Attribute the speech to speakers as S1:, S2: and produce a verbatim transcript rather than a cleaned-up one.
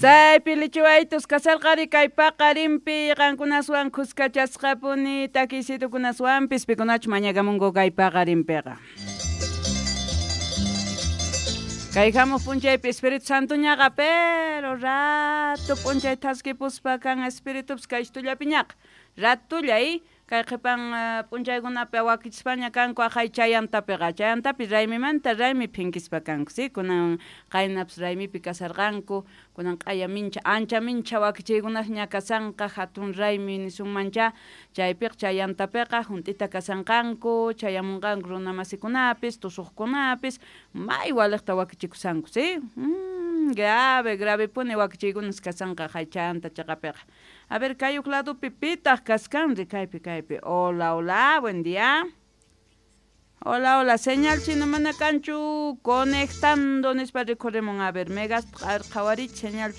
S1: Chaypi lichiwaytus kasarqari kay paqarinpi qankunaswan khuskachasqapuni takiysitukunaswanpis pikunachu mañakamunku kay paqarinpiqa. Kay hamuq p'unchaypi Espíritu Santoñaqa pero rato p'unchay thaskipuspa kan Espíritupis kay ishtullapiñaqa ratulla y kay qhipan p'unchaykunapi wakichispaña kanku aqhay chayantapiqa chayantapi raymimanta raymi phinkispa kanku si kunan qaynapis raymipi kasarqanku kunan q'aya mincha ancha mincha wakichiykunasña kasanqa hatun raymi nisunmancha chaypiqa chayantapiqa hunt'ita kasanqanku chayamunqanku runa masikunapis tusuqkunapis may waliqta wakichikusanku si mm, grave gravepuni wakichiykunas kasanqa hay chayanta chaqapiqa. A ver, kay huk ladopi pitaq kaskanri kaypi kaypi. Hola, hola, buen día. Hola, hola, señal chino mana kanchu conectando nispa rikhurimun. A ver, megas qhawarich señal.